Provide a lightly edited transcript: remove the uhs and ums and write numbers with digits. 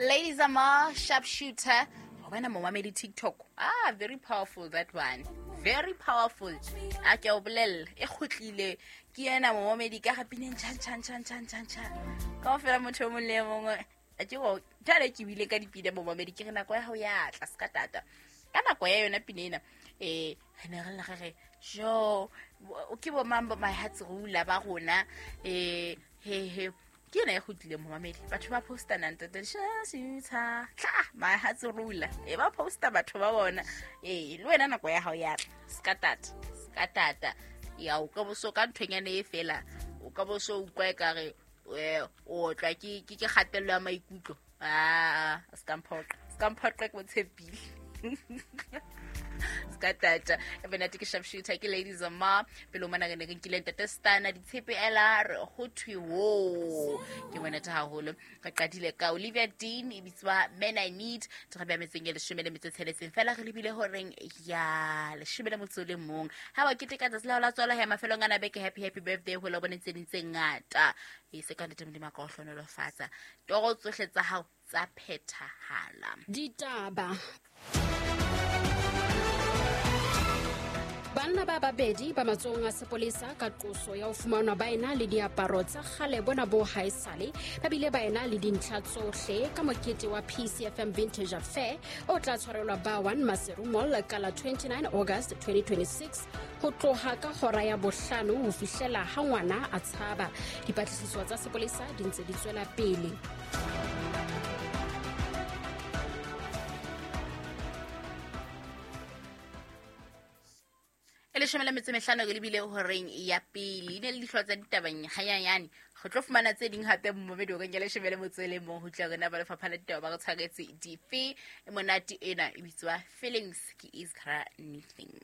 Ladies Amar, sharpshooter. Wena momamedi TikTok. Ah, very powerful that one. Very powerful. A ke o bolelle e kgutlile ke ena momamedi ka ga pineng chan chan chan chan chan chan. Ka ofela motho o mong le e mongwe a ke go jale ke bile ka dipina momamedi ke re nako ya gago ya tla se ka tata. Ka nako ya yona pina ena re ne re lla re re jo ke bo mang bo my heart's ruler ba rona he he ke ena e kgutlileng momamedi batho ba posta nang tata tla my heart's ruler e ba posta batho ba bona le wena nako ya gago ya tla ska tata ska tata ya o ka boso ka nthonyane e fela o ka boso utlwa e kare o otlwa ke kgatello ya maikutlo. Ah, ska mphoqa ska mphoqa ke botshepile ska tata e bonate ke sharpshooter ke ladies ma pele o mona re ne re nkile ntate stana ditshepe ela re ho thwe wo ke monate haholo. Re qadile ka Olivia Dean e bitswa Men I Need re beha metseng e 16 fela re lebile horeng ya 11. Ha wa keteka tsatsi la hao la tswalo ya mafelong ana beke, happy happy birthday ho la bone tse ding tse ngata e se ka ntate Modimo a ka o hlohonolofatsa toro tsohle tsa hao tsa phethahala. Ditaba. Banna ba babedi ba matsohong a sepolesa ka qoso ya ho fumanwa ba ena le diaparo tsa kgale bona bo haesale ba bile ba ena le dintlha tsohle ka mokete wa PCFM Vintage Affair o tla tshwarelwa ba 1 Maseru Mall ka la 29 August 2026 ho tloha ka hora ya 5 ho fihlela ha ngwana a tshaba. Dipatlisiso tsa sepolesa di ntse di tswela pele. E 15 re lebile horeng ya pele. E ne le dihlooho tsa ditabeng hanyanyane. Re tlo fumana tse ding hape momamedi horeng ya 11 ho tla rena ba lefapha la ditaba ba re tshwaretse dife. E monate ena e bitswa Feelings ke Iskra Anything.